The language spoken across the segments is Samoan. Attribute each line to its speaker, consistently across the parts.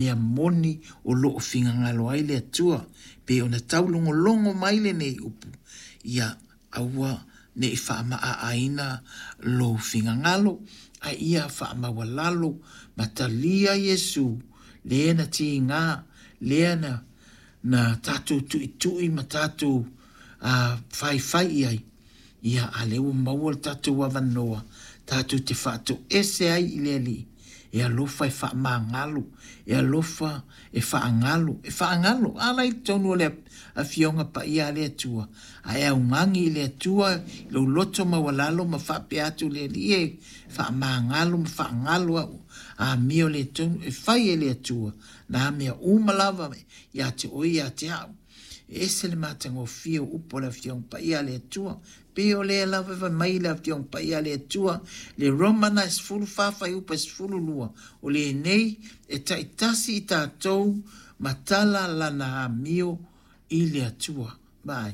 Speaker 1: mea moni o lo o finagalo ai le Atua. Pei ona taulogologo mai lenei upu, ia aua ne i faamaaaina lou finagalo, a ia faamaualalo ma talia Iesu le na tiga, lea na na tatou tuitui ma tatou faifai i ai, ia a lea ua maua le tatou avanoa tatou te faatoese ai i le Alii, e alofa e faamagalo, e alofa e faagalo, e faagalo. A la i totonu o le Afioga Paia a le Atua, a e augani i le Atua i lou loto maualalo ma faapea atu i le Alii e, faamagalo ma faagalo au amio le tonu e fai e le Atua nā mea uma lava ia te oe ia te au. E ese le matagofie o upu a le Afioga Paia a le Atua. Pei o lea lava e fai mai le Afioga Paia a le Atua, le Romana e 14 fuaiupu e 12, o lenei e taitasi i tatou ma tala lana amio i le Atua. Vaai,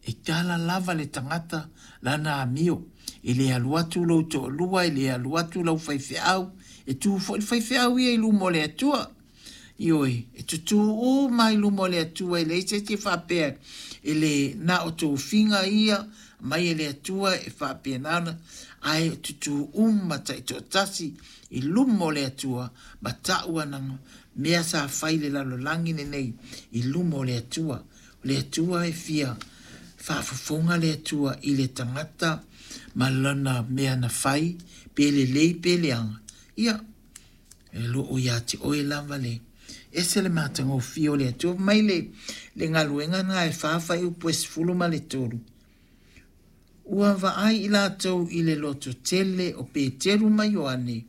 Speaker 1: e tala lava le tagata lana amio. E le alu atu lou toalua, e le alu atu lau faifeau, e tu foi le faifeau ia i luma o le Atua. Ioe, e tutū uma i luma o le Atua, e leai se isi e faapea e le na o tofiga ia mai e le Atua e faapena ona, ae tutū uma taitoatasi i luma o le Atua ma ta'u ana mea sa fai i le lalolagi lenei i luma o le Atua. O le Atua e fia faafofoga le Atua i le tagata ma lana mea na fai, pe lelei pe leaga, ia, E lo o ia te oe lava le ese le matagofie o le Atua. Fai mai le, le galuega na e fa fuaiupu e 13. Ua vaai i latou i le loto tele o Peteru ma Ioane,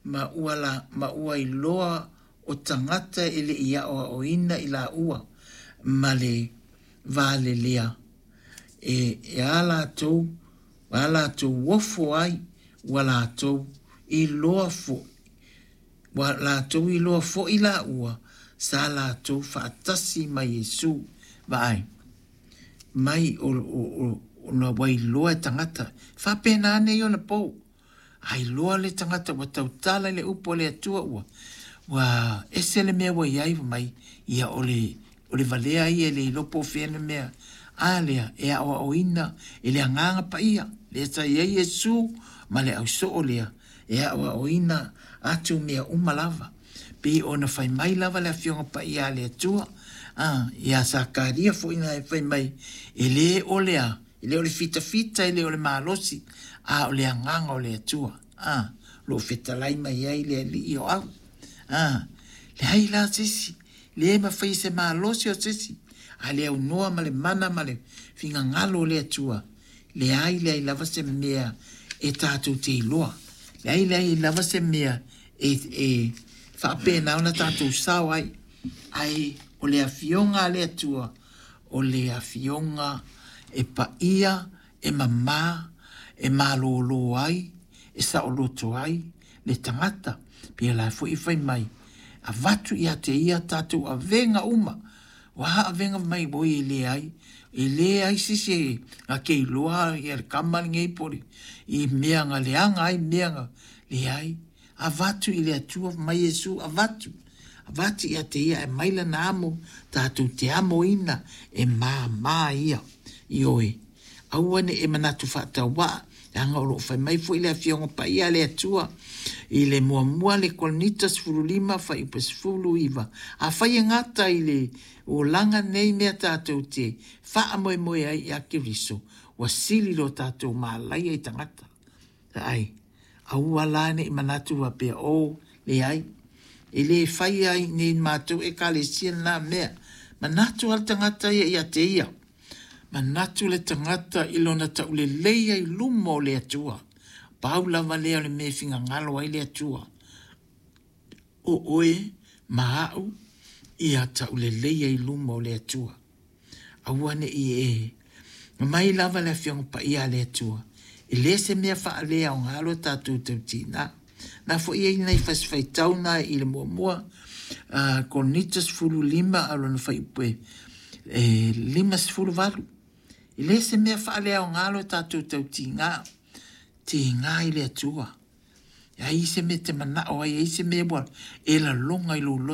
Speaker 1: ma ua, la, ma ua iloa o tagata e le i aoaoina i laua ma le valelea e, e a latou a latou ofo ai ua latou iloa foʻi ua latou iloa foʻi laua sa latou faatasi ma Iesu. Vaai mai o, o, o, ona ua iloa e tagata. Faapena nei ona pou. A iloa le tagata ua tautala i le upu a le Atua ua ua ese le mea ua i ai mai ia o le o le valea ia e le iloa po o fea le mea a lea e aoaoina e le Agaga Paia lea sa i ai Iesu ma le ausoo lea e aoaoina atu mea uma lava. Pei ona fai mai lava le Afioga Paia a le Atua a ia Sakaria foi na e fai mai e le o le a E le o le fitafita, e le o le malosi, a o le agaga o le Atua, a, o lo o fetalai mai ai le Alii o au. A, leai la se isi, le mafai e se malosi o se isi, a le aunoa ma le mana ma le finagalo o le Atua, leai, leai lava se mea e tatou te iloa. Leai, leai lava se mea e, e faapena ona tatou sao ai. Ae o le afioga a le Atua, o le afioga e paia, e mamā, e malōlō ai, e saoloto ai le tagata. Pēlā foi e fai mai, avatu ia te ia tatou avega uma. Ua a avega mai oi e leai, e leai se isi e na te iloa ia le kama lenei po o le i mea na leaga ai mea na leai. Avatu i le Atua mai Iesu avatu. Avatu ia te ia e mai lana amo, tatou te amoina e māmā ia. Ioe, aua ne i e manatu faatauaa, leaga o lo o fai mai foi le Afioga Paia a le Atua i le muamua le Korinito 15 fuaiupu 19, Afai e gata i le olaga nei mea tatou te faamoemoe ai ia Keriso, ua sili lo tatou malaia i tagata. Ai, aua la ne i manatu faapea, oh, leai, e le fai ai nei matou Ekalesia lena mea. Manatu lava le tagata ia ia te ia. Manatu le tagata i lona tauleleia i luma o le Atua. Pau lava lea o le mea e finagalo ai le Atua. O oe ma au ia tauleleia i luma o le Atua. Aua ne i e mai lava le Afioga Paia a le Atua, e le se mea faaleaoga lo tatou tautīnā. Na foi e ai nai fasi faitau na i le muamua, a Korinito 15 a lona fuaiupu e 58. E le se mea faaleaoga lo tatou tautīnā, tīgā i le Atua. E ai se mea te manao ai, ai se mea ua e laloga i lou loto.